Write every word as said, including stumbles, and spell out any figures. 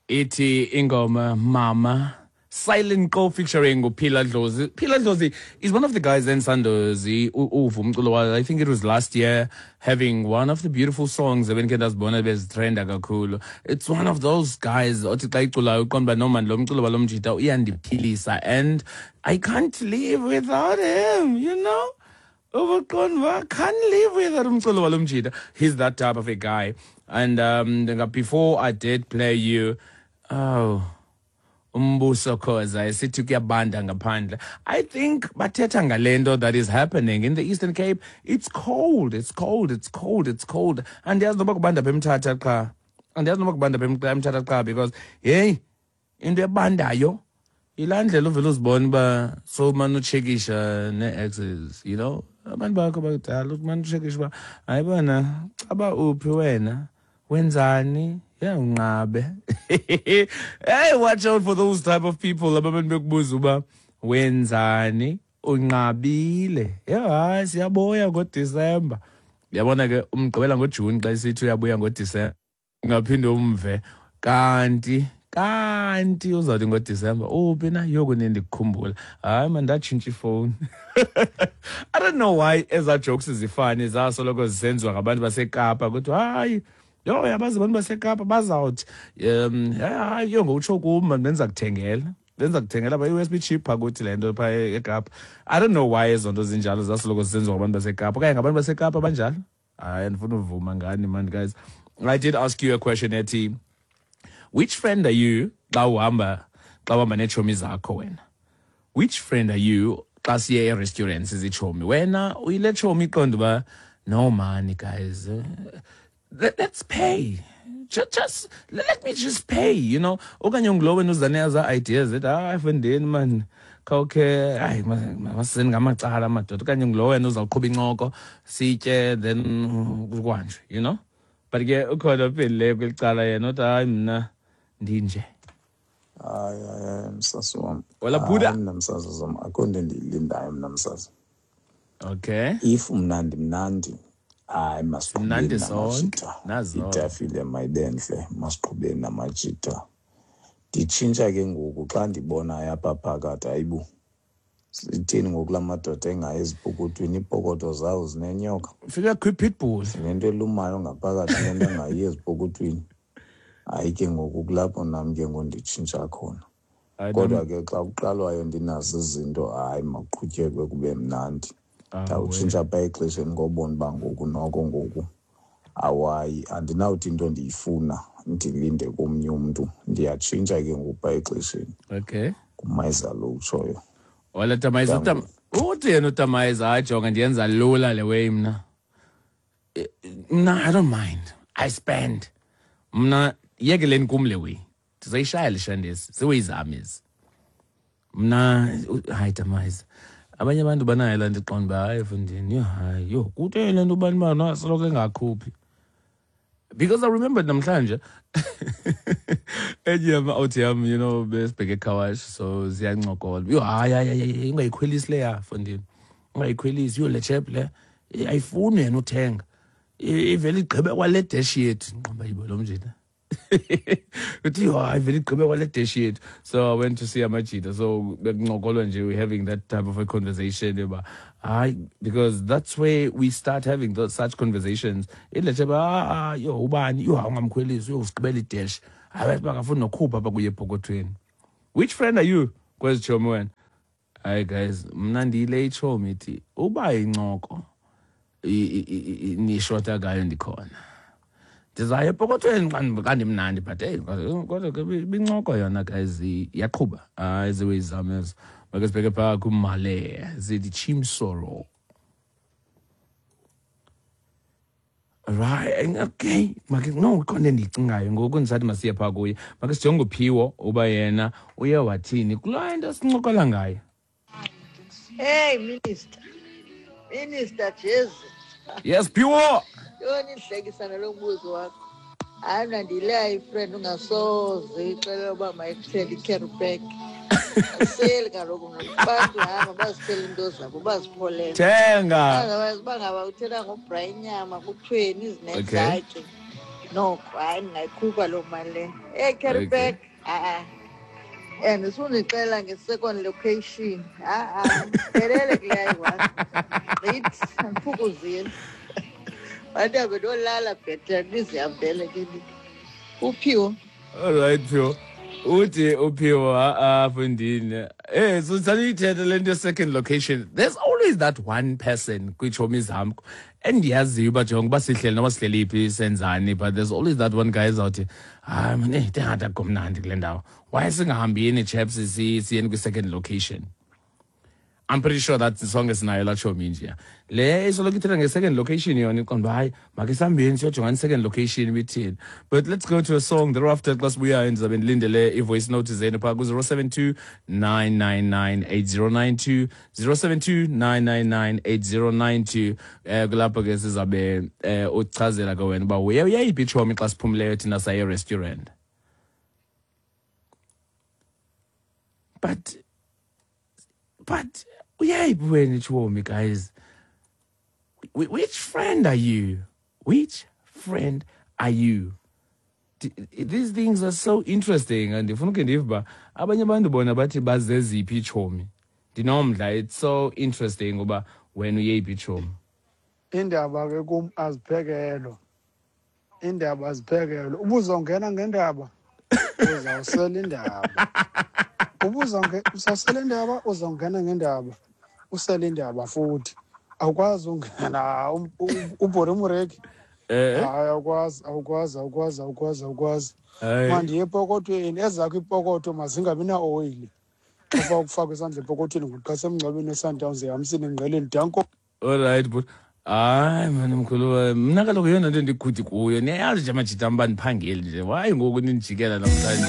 Ithi ingoma Mama, Silent Go featuring uPhila Dlozi. Phila Dlozi is one of the guys in Sandozi uva umculo wakhe. I think it was last year, having one of the beautiful songs ebendikhe ndazibona bezitrenda kakhulu. It's one of those guys othi xa iculayo uqonda uba no man, lo mculo walo mjita uyandiphilisa and I can't live without him, you know? Ubuqonda uba can't live without umculo walo mjita. He's that type of a guy. And um, before I did play you, oh, Umbuso Khoza esithi kuyabanda ngaphandle. I think bathetha ngale nto that is happening in the Eastern Cape. It's cold, it's cold, it's cold, it's cold. Andiyazi noba kubanda apha eMthatha qha. Andiyazi noba kubanda apha eMthatha qha because hey, into ebandayo yilaa ndlela uvele uzibone uba sowumane utshekisha nee-exes, you know? Abantu bakho bakudala umane utshekisha uba hayi bona caba uphi wena, wenzani? Yeah, unqabe. Hey, watch out for those type of people ababantu bekubuza uba wenzani, unqabile. Yeah, hayi siyabuya ngoDisemba. Uyabona ke umgqibela ngoJuni xa esithi uyabuya ngoDisemba. Ungaphinde umve kanti kanti uzawuthi ngoDisemba uphi na yoku ndikukhumbula. Hayi man, ndatshintsha ifowuni. I don't know why ezaa jokes zifani zasoloko zisenziwa ngabantu baseKapa kuthiwa hayi yho yabazi abantu baseKapa bazawuthi um hayi yho ngokutsho kum man benza kuthengela benza kuthengela pha i-U S B chip phaa kuthi le nto phaa eKapa. I don't know why ezo nto zinjalo zasoloko zisenziwa ngabantu baseKapa okanye ngabantu baseKapa banjalo. Hayi andifuna uvuma ngani man guys. I did ask you a question ethi which friend are you xa uhamba xa uhamba neetshomi zakho wena? Which friend are you xa siye e-restaurant sizitshomi? Wena uyile tshomi iqonda uba no money guys, let, let's pay. Just, just let me just pay, you know. Okanye ungulo wena uza neza ideas ethi hayi mfondini man khawukhe hayi masizeni ngamacala madoda. Okanye ungulo wena uzawuqhuba incoko sitye then kuhanjwe, you know. But ke ukhona ophendule kweli cala yena uthi hayi mna ndinje. Hayi hayi msasi wam. Wala Buddha. Mna msasi wam akho nto endiyilindayo mna msasi. Okay. If mnandi mnandi hayi masiqhubeni namajita. Itafile mayibentle masiqhubeni namajita. Nditshintsha ke ngoku xa ndibona apha phakathi hayibo. Sithini ngoku la madoda engayi ezipokothweni, iipokoto zawo zinenyoka. Fika kwi-pitbull. Sinento elumayo ngaphakathi lento engayi ezipokothweni. Hayi ke ngoku kulapho nam ke ngoku nditshintsha khona. Kodwa ke xa kuqalwayo ndinazo izinto hayi makuqhutyekwe kube mnandi. Ndawutshintsha phaa exesheni ngobona uba ngoku noko ngoku awayi andinawuthi into ndiyifuna ndilinde komnye umntu. Ndiyatshintsha ke ngoku phaa exesheni. Okay. Kumayiza lo utshoyo. Wala Tamayiza, utam uthi yena uTamayiza hayi jonga ndiyenza lula le way mna. Mna I don't mind. I spend. Mna yekeleni kum le way. Ndizayishaya le shandesi. Ziweyizam ezi. Mna hayi Tamayiza. Abanye abantu banayo laa nto iqonda uba hayi mfondini, yho hayi yho kutheni le nto ubani bana soloko engakhuphi. Because I remember namhlanje enye yama-out yam, you know, besibheke eCarwash, so ziyancokola. Yho hayi hayi hayi ungayikhwelisi leya mfondini. Ungayikhwelisi, yho le chap le ayifuni yena uthenga. Ivele igqibe kwale dash yethu. Nqomba yibo lo mjita. Uthi yho hayi vele igqibe kwale dash yethu. So I went to see amajita. So bekuncokolwa nje, we're having that type of a conversation about hayi because that's where we start having those such conversations. Ile chap ah yho ubani yho ungamkhwelisi yho usigqibela idash. Hayi bangafuni nokhupha apha kuye epokothweni. Which friend are you? Kwezi tshomi wena. Hayi guys, mna ndiyile itshomi ithi uba incoko nishota ngayo ndikhona. Ndizaya epokothweni xa ndimnandi but hey kodwa ke bincoko yona guys iyaqhuba. Hayi ziweyizam ezo. Make sibheke phaa kuMale zithi Chimsoro. Right, okay. Make no ikhona endiyicingayo ngoku ndisathi masiye phaa kuye. Make sijonge uPhiwo uba yena uye wathini kulaa nto sincokola ngayo. Hey minister. Minister Jezi. Yes, Phiwo. Yona inhlekisana lo mbuzo wakho. Hayi mna ndiyileya ifriend ungasoze ixelela uba mayikuthele i-carry pack. Aseli kaloku mna abantu hamba bazithele into zabo bazipholele. Thenga. Otherwise uba ngaba uthela ngobra inyama kuthweni izinetsi zakhe. Noko hayi, ndingayikhupha loo mali leyo. Eyi, carry Okay. back, a-a. And sundixelela nge-second location, a-a, phelele kuleya iyi-one. Gqithi, andiphukuzile. Mandihambe ndiyolala bhetele, ndizihambele ke ndi. Uphiwo. All right, Phiwo. Uthi uPhiwo, ha-a mfondini. Eh, so saniyithetha le nto ye-second location. There's always that one person kwiitshomi zam endiyaziyo uba jonga uba sihleli noba sihleli phi, senzani, but there's always that one guy ezawuthi, hayi man, eyi, ndingathi akukho mnandi kule ndawo. Why singahambini, chaps, siyeni kwi-second location? I'm pretty sure that sonke sinayo laa tshomi nje. Le isoloko ithetha nge-second location yona, iqonda uba hayi, makhe sihambeni siyojongana i-second location ibithini. But let's go to a song thereafter. Xa sibuyayo ndizabe ndilindele i-voice note zenu phaa ku-zero seven two nine nine nine eight zero nine two, zero seven two nine nine nine eight zero nine two. um kulapho ke sizabe um uchazela ke wena uba uye uyayiphi itshomi xa siphumileyo thina saye e-restaurant. But but uyayiphi wena itshomi, guys? Which friend are you? Which friend are you? These things are so interesting, and ndifuna ukhe ndive uba abanye abantu bona bathi bazeziphi itshomi. Ndinomdla, it's so interesting uba wena uyeyiphi itshomi. Indaba ke kum aziphekelwa, indaba aziphekelwa. Ubuzongena ngendaba, uzawusela indaba. Ubuzawusela indaba, uzongena ngendaba, usele indaba futhi. Awukwazi ungena ubhore umreki. Eh? Hayi, awukwazi, awukwazi, awukwazi, awukwazi, awukwazi. Hayi. Mandiye epokothweni, ezakho iipokotho mazingabi naoyili. Xa ukufaka isandla epokothweni ngoku xa semngcwabeni weSundowns ehamisini engqeleni. Danko. All right, but hayi mani mkhulu, mna kaloku yeyona nto ndigudi kuyo. Niyayazi nje amajita am uba ndiphangeli nje. Hayi ngoku nindijikela namhlanje.